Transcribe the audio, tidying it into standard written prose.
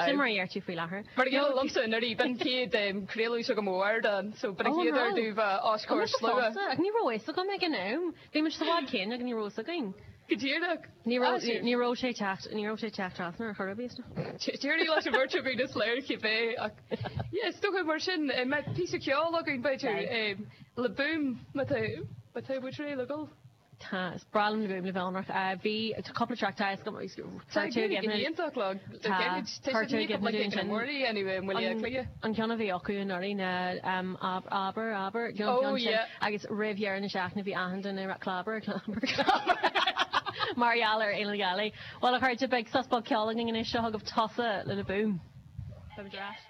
Sin mar a deir tú faoi láthair. Mar a gheall liomsa anuraidh, b'in chéad craoladh s'agam ó ardán, so b'in an chéad uair domh bheith os comhair slua. Ach ní raibh fhios agam ag an am. Bhí muid sa bhád céanna agus ní raibh fhios againn. Go díreach. Ní raibh, ní raibh sé teacht, ní raibh sé teacht trasna ar chor ar bith. D'éirigh leis an bheirt againn is léir cibé ach yeah, is dócha mar sin, mbeadh píosa ceoil againn b'fhéidir, Le Boom, má tá, má tá muid réidh le dhul. Tá, is breá liom Le Boom le bheith ionraic. Bhí, tá cúpla track, tá fhios agam, Tá go hiontach le, tá sé ní like ag na Murray anyway, i mBaile Átha Cliath. An ceann a bhí acu anuraidh ná Abair, Abair, you know, an ceann sin. Agus roimh dheireadh na seachtaine bhí achan duine ag rá clábar, clábar, clábar. Mar gheall ar Fhéile na Gealaí. Bhuel a chairde, beidh sos beag ceoil againn anois, seo chugaibh Tusa le Le Boom. Beimid ar ais.